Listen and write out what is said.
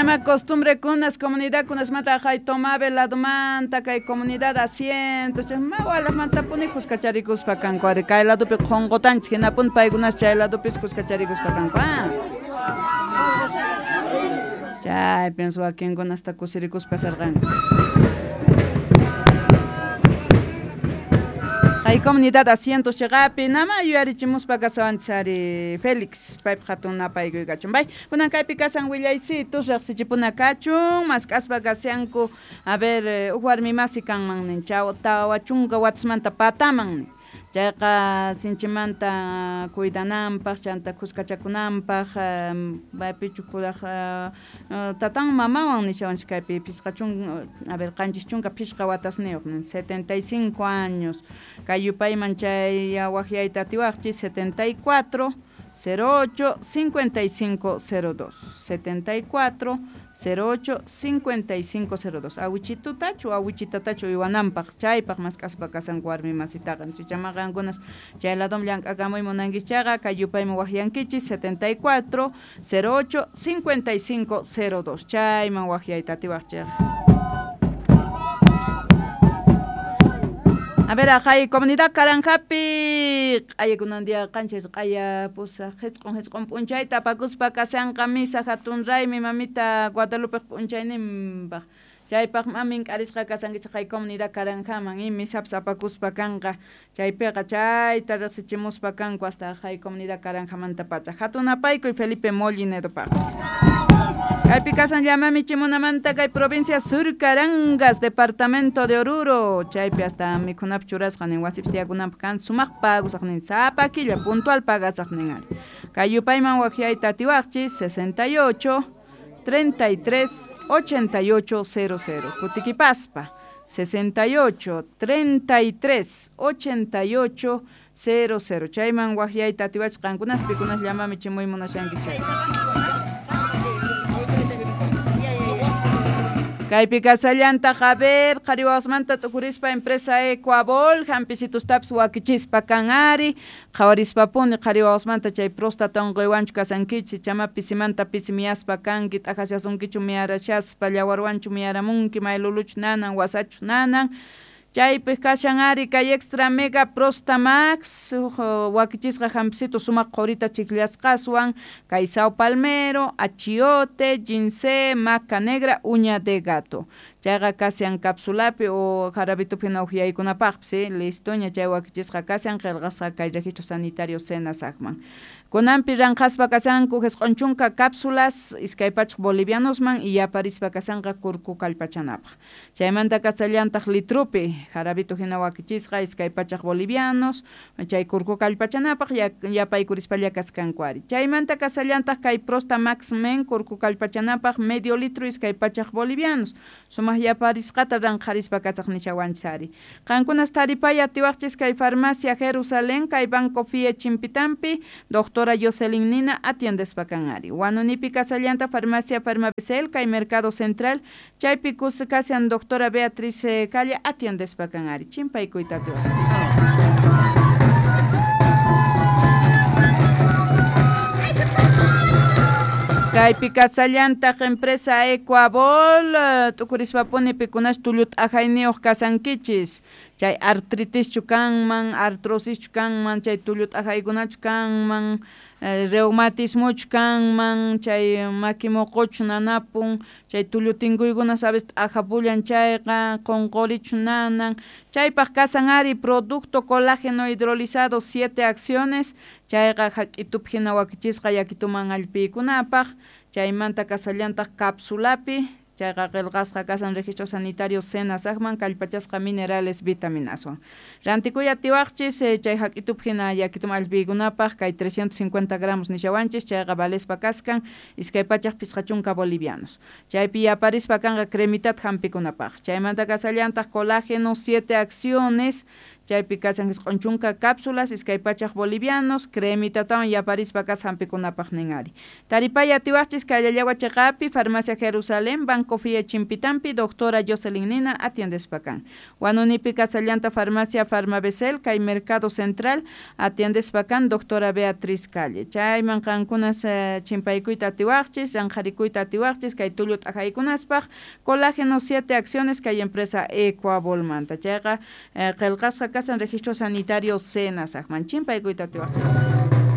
Chaynama costumbrekunas comunidadkunasmanta hay Tomabe ladomanta kay comunidad asientos ma walajmantapuni kuskacharikuspa kanku ari kay ladopi qhonqotanchis hinapuni paykunas chay ladopis kuskacharikuspa kanku chay pienso wakinkunasta kusirikuspa sarqanku. Kay comunidad asientos cheqapi nama yuyarichimuspa kasawanchis ari Félix paypaq hatun napaykuy kachun bay kunan kaypi kasan willaysitus riqsichipuna kachun mask'aspa kashanku a ver huk warmi masi kanman nin chaw 40 watasmanta pataman nin chayqa sinchimanta cuidananpaq chanta kuskachakunanpaq maypichu kuraq tatan mamawan nishawanchis kaypi 50 a ver 75 watasniyuq nin 75 años kay yupayman chay waqyayta atiwaqchis 74 08 55 02 74 08 55 02 awichitutachu awichitatachu uywananpaq chaypaq mask'aspa kasanku warmi masitaqa chaychama qankunas chay ladom llank'akamuy munankichis chayqa kay yupayman waqyankichis 74 08 55 02 chayman waqyayta atiwaqchik. A ver, hay comunidad Karanjapi, q'ayakunan día qanchis q'aya pusaq qhisq'un p'unchayta apakuspa kashanqa misa hatun raymi mamita Guadalupe p'unchayninpaq chaypaq mamin k'arisqa kasankichik kay comunidad Karanjaman y misapas apakuspa kanqa chaypiqa chayta riqsichimuspa kanku hasta hay comunidad Karanjamanta pacha hatun apaykuy Felipe Mollinedopaqpis. Kaypi kasan llamami chimunamanta kay provincia Sur Carangas, departamento de Oruro, chaypi hasta mikhunapi churasqa nin wasipis tiyakunanpaq kan sumaq pagusaq nin sapa killa puntual pagasaq nin ari. Kay yupayman waqyayta atiwaqchis 68 33 88 00 kutikipaspa 68 33 88 00 chayman waqyayta atiwachis qankunas pikunas llamami chimuy munashanki chay. Kaypi kasallantaq a ver qhariwawasmanta t'ukurispa empresa Ecuabol hampisitustapis wakichispa kan ari qhawarispapuni qhariwawasmanta chay próstata unquywanchu kasankichis chama pisimanta pisi miyaspa kanki t'aqashasunkichu miyarashaspa llawarwanchu miyaramunki mayluluchu nanan wasachu nanan chaypi kashan ari kay extra mega prostamax wakichisqa hampisitu sumaq qurita chikllasqaswan kay sao palmero, achiote, ginseng, maca negra, uña de gato chayqa kashan capsulapi o jarabitupi hina uhyaykunapaqpis listoña chay wakichisqa kashan qillqasqa kay registro sanitario SENASACman. Kunanpi ranqaspa kashanku 90 cápsulas 200 bolivianosman y yaparispa kashanqa kurku kallpachanapaq. Chaymanta kasallantaq litrupi jarabito hina wakichisqa 200 bolivianos chay kurku kallpachanapaq yapaykuриspalla kaskanku ari. Chaymanta kasallantaq kay Prosta Max Men kurku kallpachanapaq medio litro 200 bolivianos. Sumaq yaparisqata ranqarispa kasaq nishawanchis ari. Qankunas taripay atiwaqchis kay farmacia Jerusalén kay Banco Fie Chimpitampi doctor Jocelyn Nina atiendespa kan ari. Huanunipi kasallanta farmacia Farmabesel kay Mercado Central chaypi kashan doctora Beatriz Calle atiendespa kan ari. Chimpaykuyta atiwaqchis. Kaypi kasallantaq empresa Ecuabol t'ukurispapuni pikunash tullu t'ajayniyuq kasankichis chay artritischu kanman, artrosischu kanman, chay tullu t'ajaykunachu kanman, reumatismochu kanman, chay maki moqochu nanapun, chay tullu tinkuykuna sabes t'ajapullan chayqa, qunqurichu nanan, chaypaq kasan ari producto colágeno hidrolizado 7 acciones, chayqa hak'itupi hina wakichisqa yakituman allpiykunapaq, chaymanta kasallantaq capsulapi, chayqa qillqasqa kasan registro sanitario SENASACman kallpachasqa minerales vitaminaswan. Rantikuy atiwaqchis chay hak'itupi hina yakituman allpiykunapaq kay 350 gramos nishawanchis chayqa valespa kaskan 250 bolivianos. Chaypi yaparispa kanqa cremitata hampikunapaq. Chaymanta kasallantaq colágeno 7 acciones Chaypi kashan 90 cápsulas, 200 bolivianos, cremitatawan yaparispa kas hampikunapaq nin ari. Taripay atiwaqchis kay Llallagua chiqapi, Farmacia Jerusalén, Banco Fie Chimpitampi, doctora Jocelyn Nina atiendespa kan. Huanunipi kasallanta Farmacia Farmabesel, kay Mercado Central atiendespa kan doctora Beatriz Calle. Chayman qankunas chimpaykuyta atiwaqchis, ranqharikuyta atiwaqchis, kay tullu t'ajaykunaspaq, colágeno 7 acciones kay empresa Ecuabolmanta. Chayqa qillqasqa kasan registro sanitario Senasajman chimpaykuyta atiwaqchis.